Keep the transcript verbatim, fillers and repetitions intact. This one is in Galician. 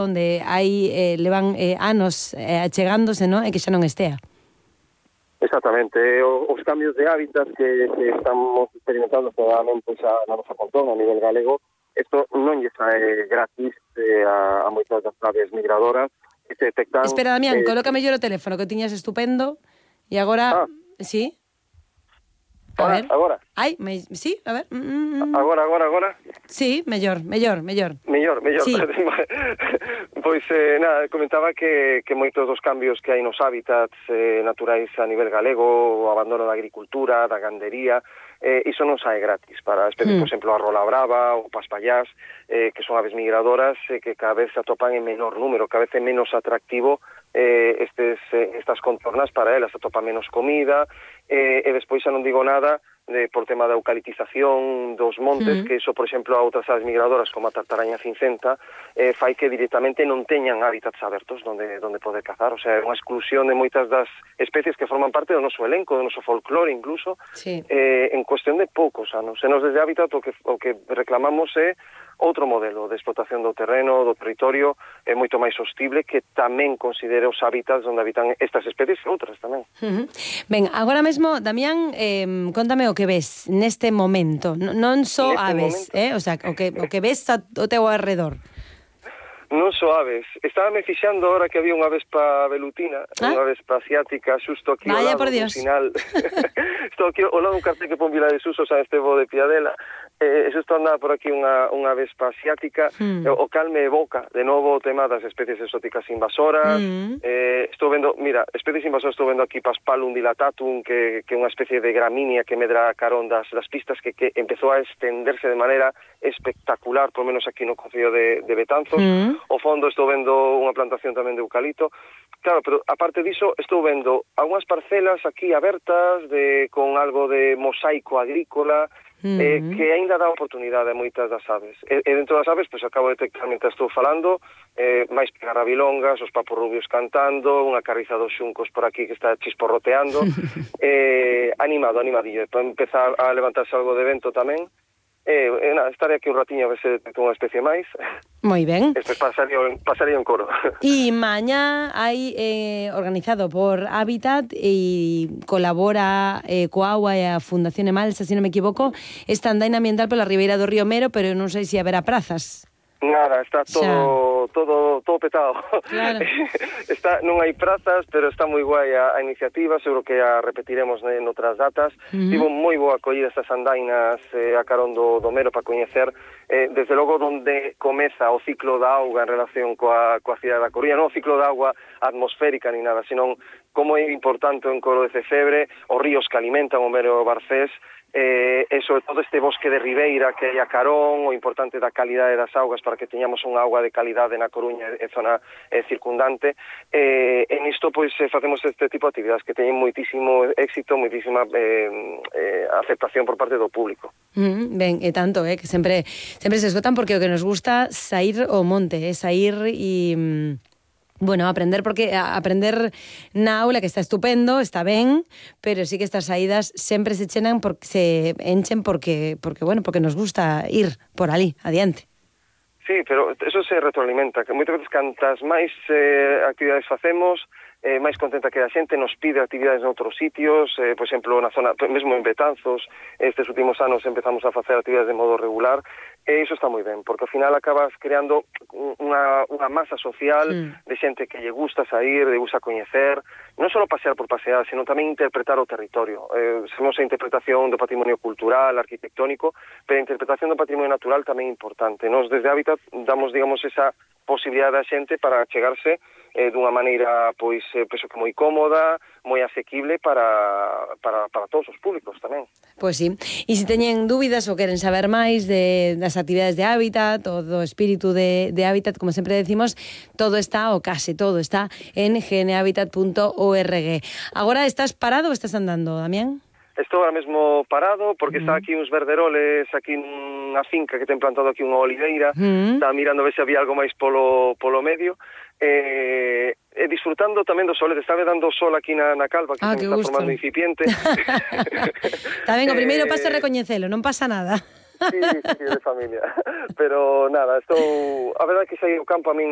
onde hai eh, levan eh, anos eh, achegándose, non? E que xa non estea. Exactamente, os cambios de hábitat que, que estamos experimentando probablemente xa na nosa contorna a nivel galego, isto non lle sae gratis eh, a, a moitas das aves migradoras que se detectan... Espera, Damián, eh, coloca mellor o teléfono, que o tiñas estupendo, e agora... Ah. Sí? A Ahora, ver. agora. Ai, me... sí, a ver. Mm, mm. Agora, agora, agora. Sí, mellor, mellor, mellor. Mellor, mellor. Sí. Pois, eh, nada, comentaba que, que moitos dos cambios que hai nos hábitats eh, naturais a nivel galego, o abandono da agricultura, da gandería, eh, iso non sae gratis para especies, mm. por exemplo, a rola brava ou paspallás, eh, que son aves migradoras eh, que cada vez se atopan en menor número, cada vez é menos atractivo eh, estes, eh, estas contornas para elas, atopa menos comida, eh, e despois xa non digo nada de, por tema da eucaliptización dos montes, mm. que iso, por exemplo, a outras aves migradoras como a tartaraña cincenta eh, fai que directamente non teñan hábitats abertos donde, donde poder cazar, o sea, é unha exclusión de moitas das especies que forman parte do noso elenco, do noso folclore incluso, sí. eh, en cuestión de poucos anos. E nos desde Hábitat o que, o que reclamamos é outro modelo de explotación do terreno, do territorio, é moito máis sostible, que tamén considere os hábitats onde habitan estas especies e outras tamén. Uh -huh. Ben, agora mesmo, Damián, eh, contame o que ves neste momento, N non só aves, momento. eh? O sea, o que, o que ves a, o teu alrededor. Non só aves. Estaba me fixando ahora que había unha vespa velutina, ah? unha vespa asiática, xusto aquí Vaya, ao lado do final. Estou aquí ao lado dun cartel que pon Vila de Suso, San Estevo de Piadela. Eh, xusto andaba por aquí unha, unha vespa asiática, mm. o cal me evoca de novo o tema das especies exóticas invasoras. Mm. Eh, estou vendo, mira, especies invasoras estou vendo aquí Paspalum dilatatum, que é unha especie de gramínea que medra carón das, das pistas, que, que empezou a extenderse de maneira espectacular, por menos aquí no concello de, de Betanzos. Mm. Ao fondo estou vendo unha plantación tamén de eucalipto. Claro, pero aparte diso, estou vendo algunhas parcelas aquí abertas de con algo de mosaico agrícola, Uh -huh. eh, que aínda dá oportunidade a moitas das aves. E, e dentro das aves, pois acabo de detectar, mentre estou falando, eh, máis pegarrabilongas, os papos rubios cantando, unha carriza dos xuncos por aquí que está chisporroteando. eh, animado, animadillo. Para empezar a levantarse algo de vento tamén. Eh, eh, nada, estaré aquí un ratiño a ver se detecto unha especie máis. Moi ben. Este pasaría, pasaría un coro. E mañá hai eh, organizado por Hábitat e colabora eh, coa Agua e a Fundación Emalsa, se non me equivoco, esta andaina ambiental pola ribeira do río Mero, pero non sei se haberá prazas. Nada, está todo Xa. todo todo petado. Claro. Está, non hai prazas, pero está moi guai a, a iniciativa, seguro que a repetiremos en outras datas. Uh -huh. Tivo moi boa acollida estas andainas eh, a carón do, do Mero para coñecer, eh, desde logo, onde comeza o ciclo da auga en relación coa, coa cidade da Coruña, non o ciclo da auga atmosférica ni nada, senón como é importante en Coro de Cefebre, os ríos que alimentan o Mero Barcés, eh, e sobre todo este bosque de ribeira que hai a carón, o importante da calidade das augas para que teñamos unha auga de calidade na Coruña e zona eh, circundante. Eh, en isto, pois, eh, facemos este tipo de actividades que teñen moitísimo éxito, moitísima eh, eh, aceptación por parte do público. Mm, ben, e tanto, eh, que sempre sempre se esgotan, porque o que nos gusta sair ao monte, eh, sair e... Bueno, aprender, porque aprender na aula, que está estupendo, está ben, pero sí que estas saídas sempre se chenan porque se enchen porque porque bueno, porque nos gusta ir por ali, adiante. Sí, pero eso se retroalimenta, que moitas veces cantas máis eh, actividades facemos, eh, máis contenta que a xente nos pide actividades en outros sitios, eh, por exemplo, na zona, mesmo en Betanzos, estes últimos anos empezamos a facer actividades de modo regular, e iso está moi ben, porque ao final acabas creando unha, unha masa social mm. de xente que lle gusta sair, lle gusta coñecer, non só pasear por pasear, sino tamén interpretar o territorio. Eh, sabemos a interpretación do patrimonio cultural, arquitectónico, pero a interpretación do patrimonio natural tamén é importante. Nos desde Hábitat damos, digamos, esa posibilidade da xente para chegarse eh, dunha maneira, pois, eh, penso que moi cómoda, moi asequible para, para, para todos os públicos tamén. Pois sí. E se teñen dúbidas ou queren saber máis de, das actividades de Hábitat ou do espírito de, de Hábitat, como sempre decimos, todo está, ou case todo está, en genehabitat punto org. Agora estás parado ou estás andando, Damián? Estou ahora mesmo parado porque mm. está aquí uns verderoles aquí nunha finca que ten plantado aquí unha oliveira, mm. está mirando a ver se había algo máis polo, polo medio, e, e disfrutando tamén do sol, está dando sol aquí na, na calva que ah, se está gusto. formando incipiente. Está ben, o primeiro paso é recoñecelo, non pasa nada. Sí, sí, sí, de familia. Pero nada, estou... A verdade é que saí ao campo a min